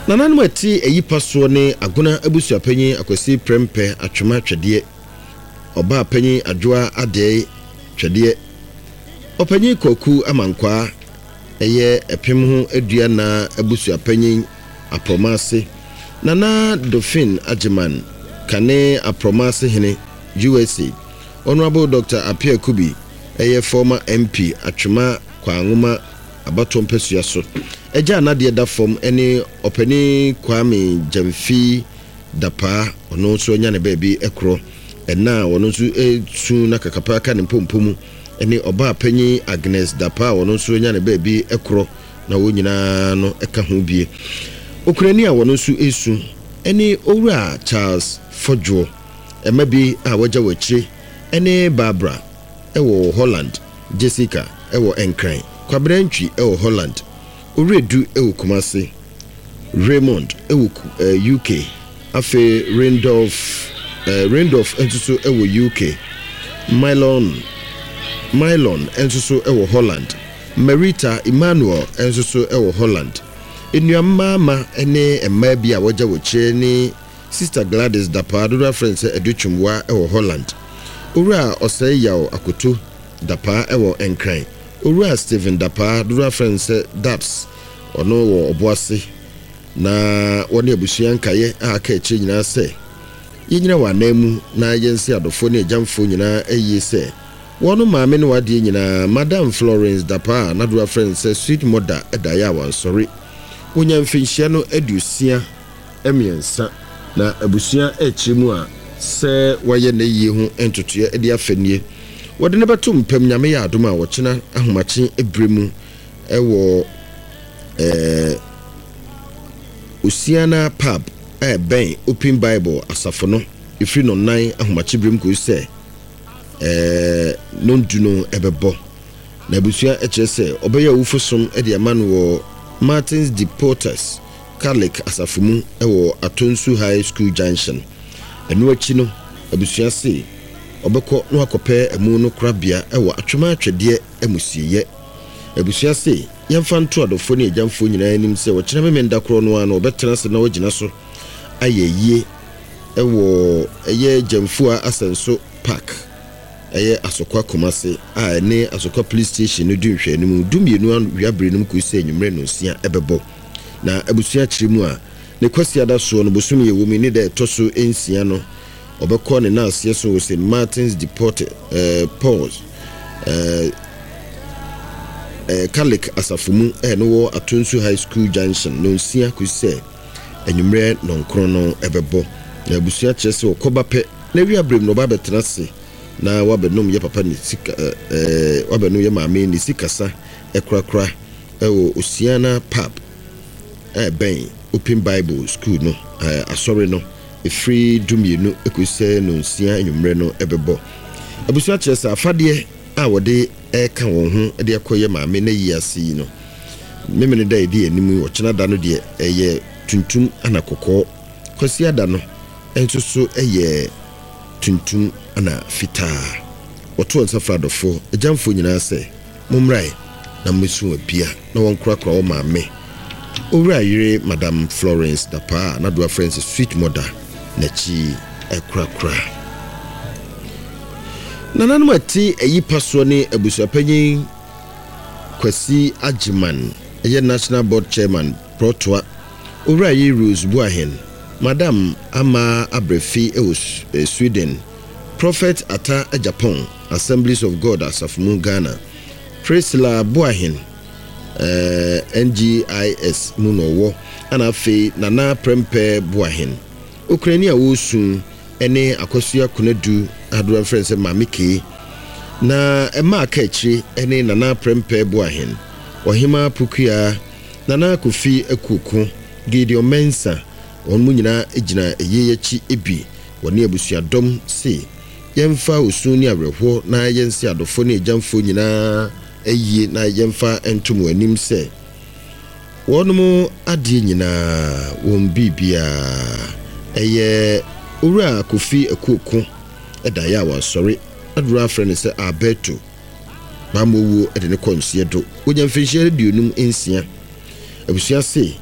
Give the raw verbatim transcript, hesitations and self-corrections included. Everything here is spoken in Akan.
Nananom a ɛte ayi pa soɔ ne Agona abusuapanyin Akwasi Prɛmpɛ Atwoma Twɛdeɛ, ɔbaa panyin Adwoa Adɛe Twɛdeɛ, ɔpanyin Kwaku Amankwaa, ɛyɛ ɛpem ho aduana abusuapanyin Aprɔmaase, Nana Dofin Agyeman Kane Aprɔmaase hene U S A, Honorable Doctor Appiah Kubi, ɛyɛ former M P Atwema Kwanwoma abatoɔ mpasua so agya anadeɛ da fam, ne ɔpanin Kwame Gyamfi Dapaa, ɔno nso anya ne baabi korɔ ɛna a ɔno nso esu na kakapa ka ne mpompo mu, ne ɔbaa panyin Agnes Dapaa a ɔno nso anya ne baabi korɔ, na wɔn nyinaa no ka ho bie. Okurani a wɔn nso esu ne Owura Charles Fɔdwoɔ. Ɛma bi a wɔagya wɔ akyire ne Barbara ɛwɔ Holland, Jessica ɛwɔ Nkran, Kwabena Ntwi ɛwɔ Holland, Owuredu ɛwɔ Kumase, Raymond ɛwɔ eh, U K, afei Randolph eh, Randolph nso so ɛwɔ U K, Mylon Mylon nso so ɛwɔ Holland, Marita Emmanuel nso so ɛwɔ Holland. Nnuammaama ne mmaa bi a wɔagya wɔ akyire ne Sister Gladys Dapaa, dodoɔ afrɛ no sɛ Adutwumwa, ɛwɔ Holland, Owura Ɔsɛe Yaw Akoto Dapaa ɛwɔ Nkran, Owura Stephen Dapaa, dodoɔ afrɛ no sɛ Dabs, ɔno wɔ Ɔboase, na wɔne abusua nkaeɛ a aka akyire nyinaa sɛ yɛnyina wɔ anan mu na yɛnse adɔfoɔ ne agyamfoɔ nyinaa ayie sɛ wɔn maame ne wadeɛ nyinaa, Madam Florence Dapaa a n'adoɔ afrɛ no sɛ Sweet Mother, ɛdaeɛ a wansɔre. Wonya mfinhyia no aduosia mmiɛnsa, na abusua akyire mu a sɛ wɔayɛ n'ayie ho ntotoeɛ de afa nie: wɔde no bɛto mpam, Nyame yɛ adom a, wɔkyena ahomakye berɛ mu ɛwɔ ɛɛ Osiana Pub a ɛbɛn Open Bible asafo no, ɛfiri no nan ahomakye berɛ mu kɔsi sɛ ɛɛ nondu no ɛbɛbɔ. Na abusua kyerɛ sɛ ɔbɛyɛ awufo som de ama no wɔ Martins de Porters Catholic asafo mu wɔ Atonsu High School Junction. Ɛno akyi no, abusua se ɔbɛkɔ na wakɔpɛ amu no korabea wɔ Atwema Atwedeɛ amusieyɛ. Abusua se yɛmfa nto adɔfoɔ ne agyamfoɔ nyinaa anim sɛ wɔkyerɛ Memenda korɔ no a na wɔbɛtena ase na wɔagyina so ayɛ yie ɛwɔ ɛyɛ Gyamfua Asɛnso Park, ɛyɛ Asokwa Kumase a ɛne Asokwa Police Station no di nhwɛanim, dumienu awiabere no mu kɔsi sɛ anwummerɛ nonsia ɛbɛbɔ. Na abusua kyerɛ mu a, ne Kwasiada soɔ no, bosome yɛ wɔ mu ne da ɛtɔ so nsia no, ɔbɛkɔ ne naaseɛ so wɔ Saint Martins de Port eh, Pauls eh, eh, Catholic asafo mu ɛno wɔ Atonsu High School Junction, nonsia kɔsi sɛ anwummerɛ nɔnkron no ɛbɛbɔ. Na abusua kyerɛ sɛ ɔkɔba pɛ na awia berɛ mu no, ɔba abɛtena ase na wabɛnom yɛ papa ne sika ɛɛ wabɛnom yɛ maame ne sikasa ɛkorakora ɛwɔ Osiana Pub a ɛbɛn Open Bible School no, ɛɛ asɔre no, ɛfiri dumienu ɛkɔsi sɛ nonsia anwummerɛ no ɛbɛbɔ. Abusua kyerɛ sɛ afadeɛ a wɔde ɛreka wɔn ho de akɔyɛ maame na yi ase yi no, Memene da ɛdi anim yi, ɔkyena da no deɛ, ɛyɛ tuntum ana kɔkɔɔ. Kwasi ada no nso so ɛyɛ tuntum ana fitaa. Wɔto nsa fra adɔfoɔ agyamfoɔ nyinaa sɛ mommrae na mmɛsu abia na wɔnkorakora wɔ maame Owura yere Madam Florence Dapaa a n'adoa frɛ no sɛ Sweet Mother n'akyi ɛkorakora. Nananom a ɛte ayi pa soɔ ne abusuapanyin Kwasi Agyeman, ɛyɛ National Board Chairman Prɔtoa, Owura yi Rose Buahen, Madam Ama Abrefi ɛwɔ Sweden, Prophet Ata Japan, Assemblies of God asafo mu Ghana, Priscilla Buahen, eh, N G I S mu na ɔwɔ, ana afei Nana Prɛmpɛ Buahen, okurani a wɔresu ne Akɔsua Konadu, adoa mfrɛ sɛ Maame Kee. Na ɛma aka akyire ne Nana Prɛmpɛ Buahen, Ɔhema Pokua, Nana Kofi Akuoko, Gideon Mensa, wɔn mu nyinaa gyina ɛyie akyi bi. Wɔne abusuadɔm se yɛmfa osu ne awerɛhoɔ na yɛnse adɔfoɔ ne agyamfoɔ nyinaa ayie na yɛmfa ntom wɔn anim sɛ wɔnom adeɛ nyinaa, wɔn biribiaa ɛyɛ Owura Kofi Akuoko ɛdaeɛ a wansɔre, aduro afrɛ no sɛ Alberto Bammɔwuo de ne kɔ nseɛ do. Wɔnya mfirinhyia aduonum nsia. Abusua se